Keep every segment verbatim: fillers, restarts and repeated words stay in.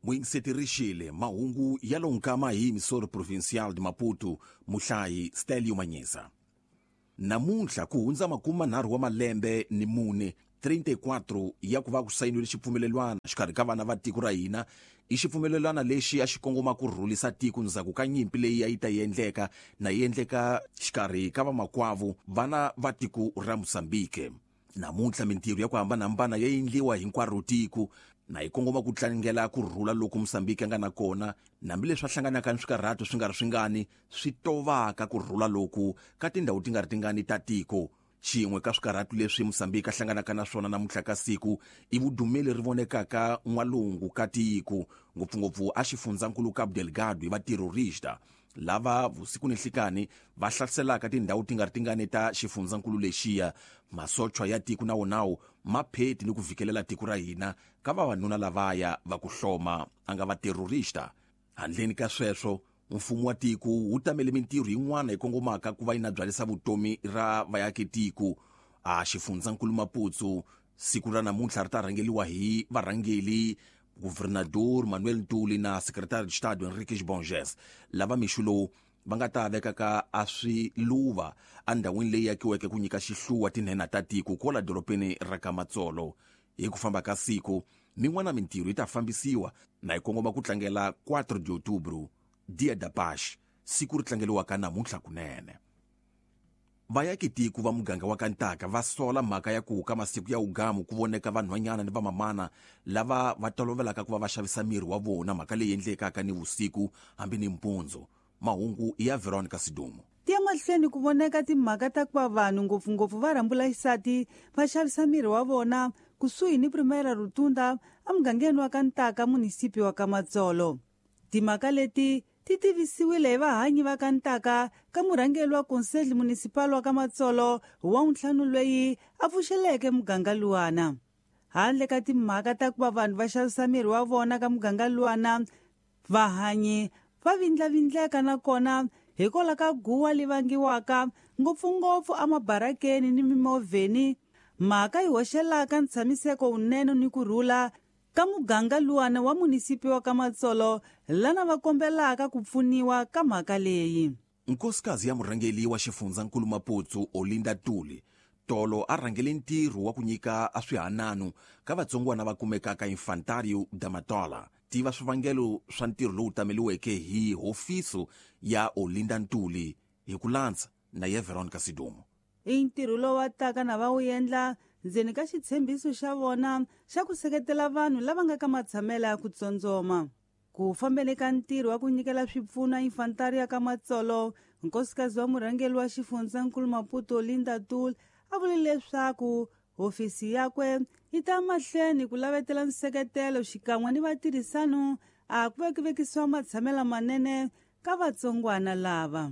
Muyingisetirixile mahungu ya lonkama hi Emissora Provincial de Maputo, muhlayi Stelio Manyisa. Namuntlha ku hundza makume manharhu wa malembe ni mune trinta e quatro ya ku va ku sayiniwile xipfumelelwana xikarhi ka vana va tiko ra hina. I xipfumelelwana lexi a xi kongoma ku rhulisa tiko ndzhaku ka nyimpi leyi a yi ta endleka na yi endleka xikarhi ka vamakwavo vana va tiko ra Mozambique. Namuntlha mintirho ya ku hambanahambana ya endliwa hinkwaro tiko na yi kongoma ku tlangela ku rhula loku Mozambique a nga na kona, hambileswi a hlanganaka ni swikarhato swi nga ri swingani swi tovaka ku rhula loku ka tindhawu ti nga ri tingani ta tiko. Xin'we ka swikarhato leswi Mozambique a hlanganaka na swona namuntlha ka siku i vudumeli ri vonekaka n'walungu ka tiko, ngopfungopfu a xifundzankulu Cabo Delgado, hi vaterrorista lava vusiku ni nhlikani va hlaselaka tindhawu ti nga ri tingani ta xifundzankulu lexiya. Masochwa ya tiko na wonawo ma pheti ni ku vhikelela tiko ra hina ka vavanuna lavaya va ku hloma a nga vaterrorista. Handleni ka sweswo, mfumo wa tiko wu tamele mintirho yin'wana yi kongomaka ku va yi na byalisa vutomi ra vayaki tiko. A xifundzankulu Maputo siku ra namuntlha ri ta rhangeliwa hi varhangeli Governador Manuel Ntuli na Secretário de Estado Henriques Bonges, lava mixo lowu va nga ta vekaka a swiluva endhawini leyi akiweke ku nyika xihluwa tinhenha ta tiko kwala dorobeni ra ka Matsolo. Hi ku famba ka siku min'wana mintirho yi ta fambisiwa na yi kongoma ku tlangela quatro de outubro, Dia da Paz, siku ri tlangeliwaka namuntlha kunene. Vayaki tiko va muganga wa Kantaka va sola mhaka ya ku ka masiku ya ugamu ku voneka vanhwanyana ni vamamana lava va tolovelaka ku va va xavisa miri wa vona, mhaka leyi endlekaka ni vusiku hambi ni mpundzu. Mahungu ya Veronica Sidumo. Ti ya mahlweni ku voneka timhaka ta ku va vanhu, ngopfungopfu va rhambula xisati, va xavisa miri wa vona kusuhi ni Primeira Rotunda emugangeni wa Kantaka, munisipi wa Kamatsolo. Timhaka leti ti tivisiwile hi vahanyi va Kantaka ka murhangeri wa Conselho Municipal wa Kamatsolo wa ntlhanu loyi a pfuxeleke muganga luwana. Handle ka timhaka ta ku va vanhu va xavisa miri wa vona ka muganga luwana, vahanyi va vindlavindleka nakona hikwalaho ka guwa li vangiwaka ngopfungopfu emabarakeni ni mimovheni, mhaka yi hoxelaka ntshamiseko wunene ni ku rhula ka muganga luwana wa munisipi wa Kamatsolo, lana va kombelaka ku pfuniwa ka mhaka leyi. Nkosikazi ya murhangeli wa xifundzankulu Maputo, Olinda Tuli, tolo a rhangele ntirho wa ku nyika a swihanano ka vatsongwana va kumekaka Infantário da Matola. Tiva swivangelo swa ntirho lowu tameliweke hi hofiso ya Olinda Ntuli hi ku landza na ye Veronica Sidumo. I ntirho lowu va taka na va wu endla ndzeni ka xitshembiso xa vona xa ku seketela vanhu lava nga ka matshamela ya ku tsondzoma. Ku fambeni ka ntirho wa ku nyikela swipfuno Infantário ya ka Matsolo, nkosikazi wa murhangeri wa xifundzankulu Maputo, Linda Tul, a vule leswaku hofisi yakwe yi ta mahlweni ku lavetela nseketelo xikan'we ni vatirhisano a ku vekivekisiwa matshamela manene ka vatsongwana lava.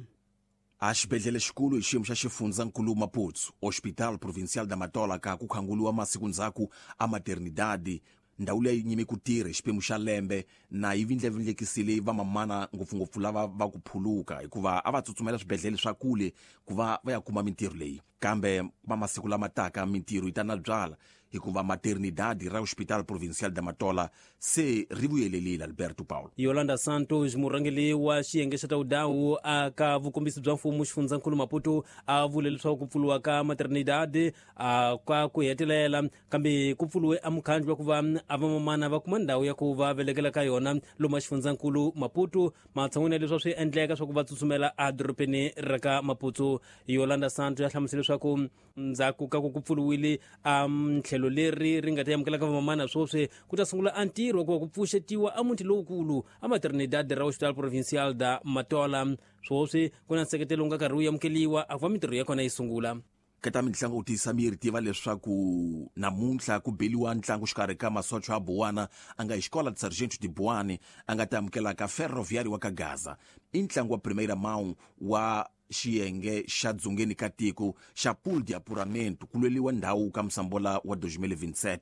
A xibedhlele xikulu hi xiyimo xa xifundzankulu Maputo, Hospital Provincial da Matola, ka ku khanguliwa masiku ndzhaku a maternidade, ndhawu leyi nyime ku tirha hi xiphemu xa lembe na yi vindlavindlekisile vamamana, ngopfungopfu lava va ku phuluka, hikuva a va tsutsumela swibedhlele swa kule ku va va ya kuma mintirho leyi. Kambe va masiku lama taka mintirho yi ta na byala, hikuva maternidade ra Hospital Provincial da Matola se ri vuyelelile. Alberto Paulo. Yolanda Santos, murhangeri wa xiyenge xa tawudawu aka vukombisi bya mfumo xifundzankulu Maputo, a vule leswaku ku pfuriwa ka maternidade a ka ku hetelela, kambe ku pfuriwe a mukhandlu wa ku va a vamamana va kuma ndhawu ya ku va velekela ka yona lomu xifundzankulu Maputo, matshan'wini ya leswi swi endleka swa ku va tsutsumela edorobeni ra ka Maputo. Yolanda Santos ya hlamusela leswaku ndzhaku ka ku ku pfuriwile a tlhelo leri ri nga ta amukelaka vamamana, swoswi ku ta sungula a ntirho wa ku va ku pfuxetiwa a muti lowukulu a maternidade ra Hospital Provincial da Matola. Swoswi ku na nseketelo wu nga karhi wu amukeliwa a ku va mintirho ya kona yi sungula. Ka ta mitlangu u tiyisa miri, tiva leswaku namuntlha ku beliwa ntlangu xikarhi ka masocho ya Buwana a nga hi xikola de Sargento de Buane a nga ta amukelaka Ferroviário wa ka Gaza. I ntlangu wa Primeira Mão wa xiyenge xa dzongeni ka tiko xa pool de apuramento, ku lweliwa ndhawu ka musambola wa twenty twenty-seven.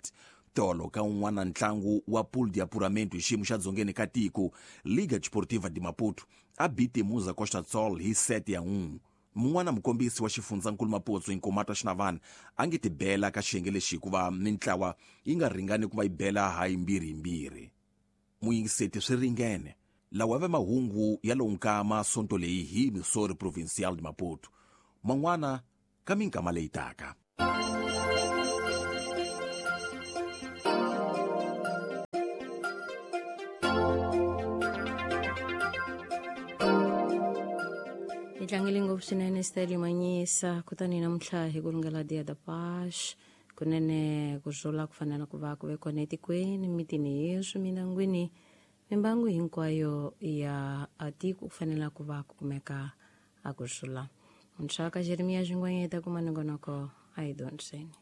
Tolo ka un'wana ntlangu wa pool de apuramento hi xiyimo xa dzongeni ka tiko, Liga Desportiva de Maputo a bite Muza Costa Sol hi set ya un'we. Mun'wana mukombisi wa xifundzankulu Maputo, Nkomata Xinavana, a nge tibela ka xiyenge lexi hikuva mintlawa yi nga ringani ku va yi bela ha yimbirhi yimbirhi. Muyingiseti swi ringene. Lawa ve mahungu ya lowu nkama sonto leyi hi Missouri Provincial de Maputo. Man'wana ka minkama leyi taka. Hi tlangele ngopfu swinene Stelio Manyisa kutani namuntlha hi ku rungela Dia da Paz kunene ku rhula ku fanele ku va ku ve kona etikweni mitini yeswi mindyangwini mimbangu hinkwayo ya tiko ku fanele ku va ku kumeka a ku rhula. Muntshwa ka Jeremia Xingwanyeta kuma nongonoko a hi dyondzeni.